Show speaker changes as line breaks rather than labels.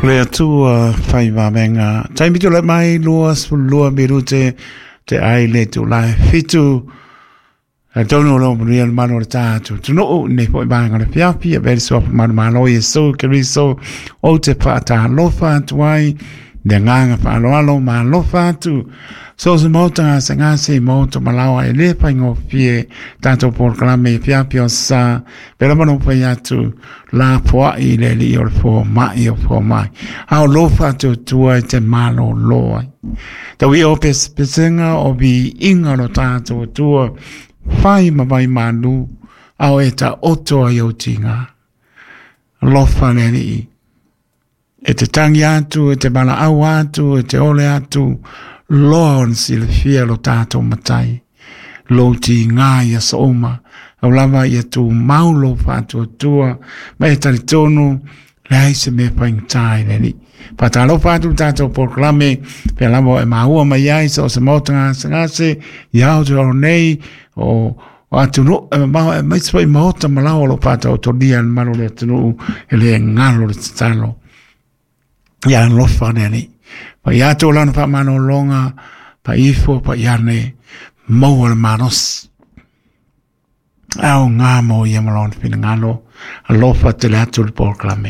Le Atua fai vavega. Taimi tulai mai 22 minute te ai le tulae 7. Tonu o lo manuia le malo o le tātou atunuu nei foi vaega o le fiafi e vele suafa manumalo Iesu Keriso o te faatalofa atu ai le agaga faaaloalo ma alofa atu. So se maota gasegase i maota malaoa e le faigofie tātou polokalame i fiafi o sa pela manu fai atu la poai i le alii o le fomai o fomai. A o lo faatuatua i te malōlō ai. Tau ia o pesepesega o viiga o lo tātou Atua, whai ma vai manu, a o e ta oto ai o tinga. Alofa le alii. E te tangi atu, e te valaau atu, e te ole atu, loa ona silafia lo tātou matai. Lou tigā i aso uma, au lava ia tumau lou faatuatua, ma e talitonu, leai se mea faigata i le Alii. Faatalofa atu le tātou polokalame, pea lava e maua mai ai so o se maota gasegase, i Aotearoa nei, o o atunuu e mamao aemaise foi maota ma laoa o lo o faataotolia e le mamalu o le atunuu e le galo le tatalo. Ia alofa le Alii. Pai atu o lana faamalologa, pai ifo, pai ane, maua le malosi. Aoga mo ia ma lona finagalo, alofa tele atu le polokalame.